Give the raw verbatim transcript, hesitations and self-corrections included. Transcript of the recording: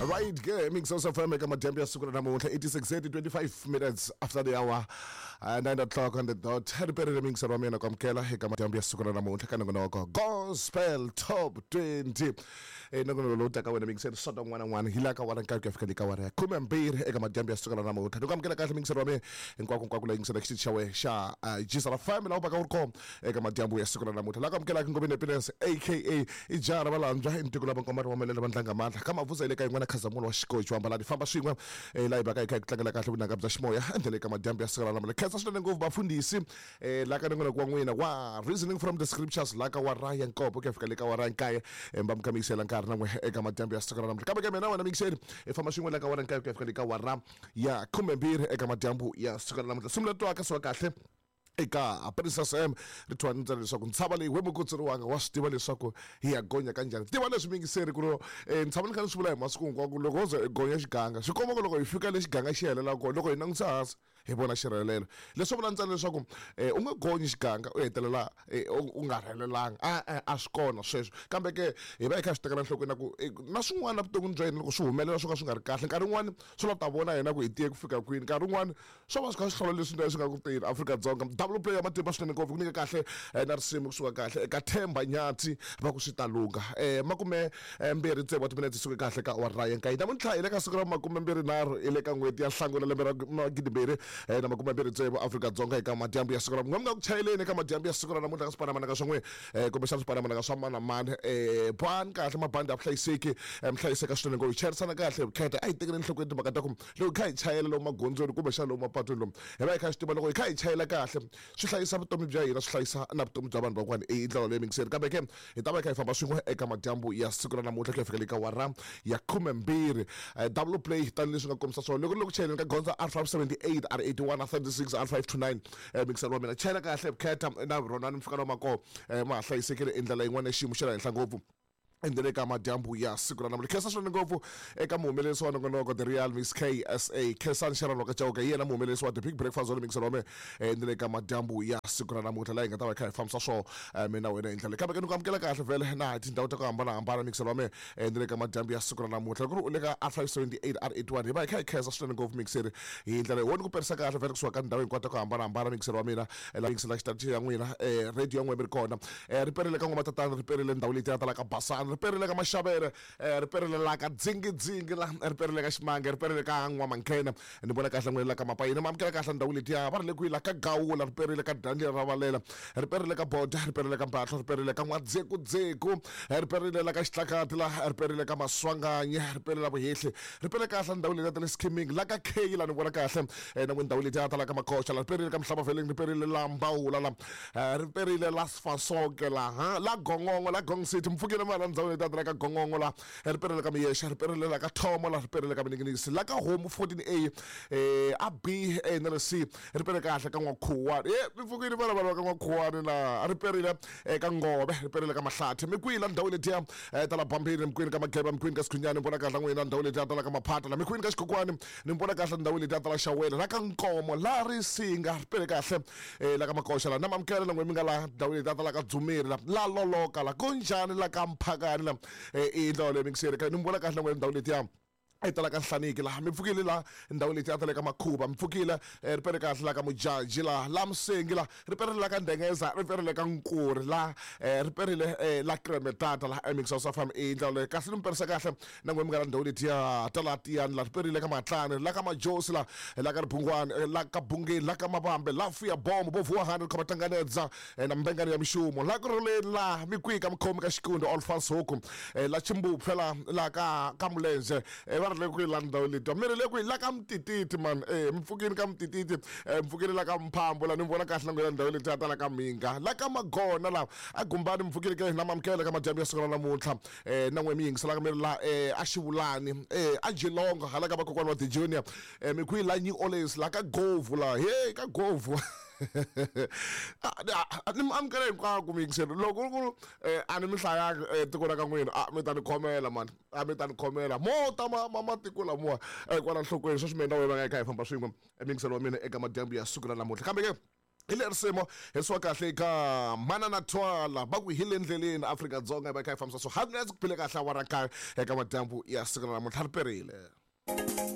Right ke Mix F M eka madyambu ya siku ra namuntlha eighty-six twenty-five minutes after the hour uh, nine o'clock on the dot. Riperile Mix wa mina ku amukela eka madyambu ya siku ra namuntlha ka nongonoko Gospel Top twenty. Eh nongonoko lowu taka wena Mix soto n'wana n'wana hi la ka wara nkarhi ku ya fika le ka wara ya khume mbirhi eka madyambu ya siku ra namuntlha. Ni ku amukela kahle Mix wa mina hinkwako hinkwako la yingisela xitichi xa wena xa G S F M la u baka u ri kona eka madyambu ya siku ra namuntlha. La ku amukelaka Ngobeni Happiness aka Ijara Valandzwa i ntiko lava nkomari wa melele va ndlanga mandla ka mavuza ile ka yin'wana Khazamulo wa xikochi wa mbalani famba swin'we eh la hi baka hi kha hi ku tlangela kahle vunanga bya ximoya endlele ka madyambu ya siku ra namuntlha. Khensa swinene ngopfu vafundhisi eh la ka nongonoko wa n'wina wa Reasoning from the Scriptures la ka wa Ryan Nkopo ku ya fika le ka wa Ryan Nkaye va mi kambisela nkarhi na n'we eka madyambu ya siku ra namuntlha. Kambe ke mina wena mixeri hi famba swin'we la ka wa Ryan Nkaye ku ya fika le ka wa ra ya khume mbirhi eka madyambu ya siku ra namuntlha. Simu leri twaka siwa kahle eka Princess M ri thwa ni ntsena leswaku ntshava leyi we mukutsuriwanga wa swi tiva leswaku hi ya gonya kanjhani. Tiva leswi mingiseri ku ri eh, ntshava ni kha ni swi vula hi masiku hinkwako loko wo ze hi gonya xiganga swi komba ku loko hi fika le xiganga xi helela kona loko hi langutisa hansi hi vona xirhelelo. Leswi vula ntsena leswaku eh, u nga gonyi xiganga u hetelela eh, u nga rhelelanga a a a swi kona sweswo. Kambe ke hi va hi kha swi tekela nhlokweni na ku eh, na swin'wana vuton'wini bya hina loko swi humelela swo ka swi nga ri kahle nkarhi wun'wani swi la ta vona hina ku hi tiye ku fika kwini nkarhi wun'wani swo va swi kha swi hlola leswi swi nga ku teni Afrika-Dzonga. Double play ya matimba swinene ngopfu ku nyika kahle na risimu kusuka kahle eka Themba Nyathi va ku swi ta lungha eh makume mbirhi tsevu wa timinete suke kahle ka awara ya nkaye namuntlha hi le ka siku ra makume mbirhi nharhu hi le ka n'hweti ya Nhlangula lembe ra magidi mbirhi na makume mbirhi tsevu Afrika-Dzonga eka madyambu ya siku ra n'we mi nga ku chayeleni eka madyambu ya siku ra namuntlha ka swipanamananga swa n'we eh kumbexana swipanamananga swa mani na mani eh bani kahle mabandi ya vuhlayiseki mi hlayiseka swinene ngopfu hi chayerisana kahle vukheta a hi tekeli enhlokweni timhaka ta ku loko hi kha hi chayela lomu magondzweni kumbexana lomu mapatwini lomu hi va hi kha hi swi tiva loko hi kha hi chayela kahle swi hlayisa vutomi bya hina swi hlayisa na vutomi bya vanhu van'wana i ndlela leyi mingiseri. Kambe ke hi ta va hi kha hi famba swin'we eka madyambu ya siku ra namuntlha ku ya fika le ka wara ya khume mbirhi. Double play tanihileswi nga kombisa swona loko loko chayeleni ka gondzo R five seventy-eight R eighty-one R thirty-six R five two nine mingiseri wa mina chayela kahle vukheta na rhonani mi fika lomu ma kona ma ha hlayisekile i ndlela yin'wana ya xiyimo xa le henhla ngopfu endlele ka madyambu ya siku ra namuntlha. Khensa swinene ngopfu eka muhumelerisi wa nongonoko The Real Miss K S A Khensani Sharon wa ka Chauke hi yena muhumelerisi wa The Big Breakfast wa mixer wa mina endlele ka madyambu ya siku ra namuntlha laha hi nga ta va hi kha hi fambisa swona mina wena hi ndlela. Kambe ke ni ku amukela kahle vhele na hi tindhawu ta ku hambanahambana mixer wa mina endlele ka madyambu ya siku ra namuntlha. Loko u le ka R five seventy-eight R eighty-one hi va hi kha hi khensa swinene ngopfu mixer hi ndlela wona ku perisa kahle vhele kusuka ka ndhawu hinkwato ta ku hambanahambana mixer wa mina la mixer la xitatichi ya n'wina radio ya n'wina mi ri kona riperile ka n'wamatatana riperile ndhawu leyi ti talaka basana riperile ka Mashavere riperile la ka Dzingidzingi la riperile ka Ximange riperile ka N'wamankhena ni vona kahle n'wina la ka Mapayini ma amukela kahle ndhawu letiya va ri le kwihi la ka Gawula riperile ka Daniel Ravalela riperile ka Boda riperile ka Mbatlo riperile ka N'wadzekudzeku riperile la ka Xitlakati la riperile ka Maswanganyi riperile la Vuhehli riperile kahle ndhawu letiya ta le Skimming la ka K la ni vona kahle na n'we ndhawu letiya ta la ka Makoxa la riperile ka Mhlavaveleni riperile la Mbawula la riperile la Sfasoke la ha la Gongongo la Gong City mpfukile mara ndhawu letiya ta la ka Gongongo la riperile ka Miyexa riperile la ka Thomo la riperile ka Mininginisi la ka Homu fourteen A eh a B A na le C riperile kahle ka N'wakhuwani eh mi pfukile vana vanhu va ka N'wakhuwani la riperile ka Ngove riperile ka Mahlathi mi kwihi la ndhawu letiya ta la Bambini mi kwini ka Mageba mi kwini ka Sikhunyani ni vona kahle n'wina ndhawu letiya ta la ka Maphata la mi kwini ka Xikokwani ni vona kahle ndhawu letiya ta la Xawele la ka Nkomo la Risinga ripele kahle la ka Makoxa la na mamukela na n'we mi nga la ndhawu letiya ta la ka Dzumeri la la Loloka la kunjhani la ka Mphakani la i ndhawu leyi mingiseri ni vona kahle n'we ndhawu letiya e tala ka Nhlaniki la mi pfukile la ndhawu letiya ta le ka Makhuva mi pfukile ripele kahle la ka Mujaji la la Musengi la riperile la ka Ndengeza riperile ka Nkuri la riperile la Kremetata la Mix House F M i ndlela leyi kahle ni mi perisa kahle na n'we mi nga la ndhawu letiya ta la Tiyani la riperile ka Matlani la ka Majosi la la ka Ribungwani la ka Bungeni la ka Mavambe la Fuya Bombo vo vuwa hundred khoma tanganedza na mbengani ya mixumo la ku roleni la mi kwihi ka mukhomi ka Xikundo Olfans Huku la Chimbupfe la la ka ka Mulenze va ri le kwihi la ndhawu letiya mi ri le kwihi la ka Mtititi man eh mi pfukini ka Mtititi mi pfukile la ka Mphambo la ni vona kahle na n'wina ndhawu letiya ta la ka Mhinga la ka Magona la a Gumbani mi pfukile ke na mamukela ka madyambu ya siku ra namuntlha eh na n'we mi yingiselaka mi ri la eh a Xivulani eh a Jilongo hala ka vakokwana wa The Junior eh mi kwihi la New Orleans la ka Govu la he ka Govu ni mi amukela hinkwako mi yingisela loko ku a ni mi hlayanga tiko ra ka n'wina a mi ta ni khomela mani a mi ta ni khomela mo ta ma ma matiko lamuwa kwala nhlokweni sweswi mina na wena va nga hi kha hi famba swin'we mingiselo wa mina eka madyambu ya siku ra namuntlha. Kambe ke Hi le risimu hi swa kahle ka Manana Twala, va ku hi le ndleleni Afrika-Dzonga, va kha yi fambisa so hakunene ku phile kahle awara kaye eka madyambu ya siku ra namuntlha, ri perile.